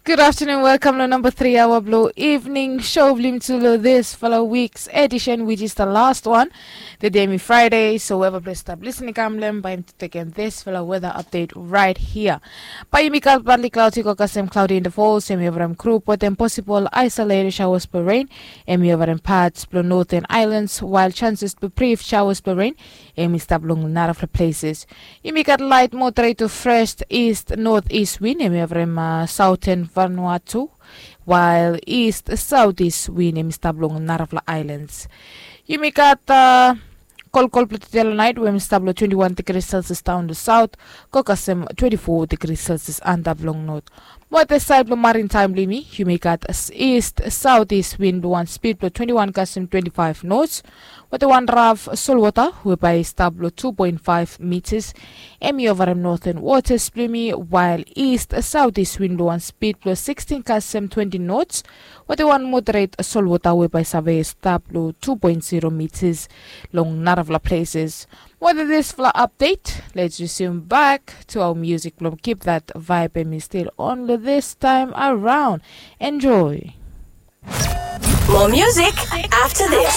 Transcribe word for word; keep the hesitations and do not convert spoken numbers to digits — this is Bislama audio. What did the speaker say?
Good afternoon, welcome long number three hour blue evening show blim to lo this fellow week's edition, which is the last one. The day mi Friday, so whoever please stop listening, come lem by him to take in this fellow weather update right here. By yumi got partly cloudy, got some cloudy in the falls, and we have group with them possible isolated showers for rain, and we have parts below northern islands, while chances to brief showers for rain, and we stop long narafla places. Yumi gat light moderate to fresh east northeast wind, hemi evrem southern Vanuatu, while east southeast wind hemi stap long narafla islands. Yumi gat kolkol blong tede long night, we hemi stap long twenty-one degrees Celsius down to south, go kasem twenty-four degrees Celsius antap long north. Mo the side blong maritime blong yumi, yumi gat east southeast wind blong one speed blong twenty-one kasem twenty-five knots, with the one rough solwota we by stap long two point five meters. Hemi evrem northern waters blong yumi, while east southeast wind blong one speed blong sixteen kasem twenty knots, with the one moderate solwota we by save stap long two point zero meters long narafla places. With this fla update, let's resume back to our music blong keep that vibe and me still on this time around. Enjoy. More music after this.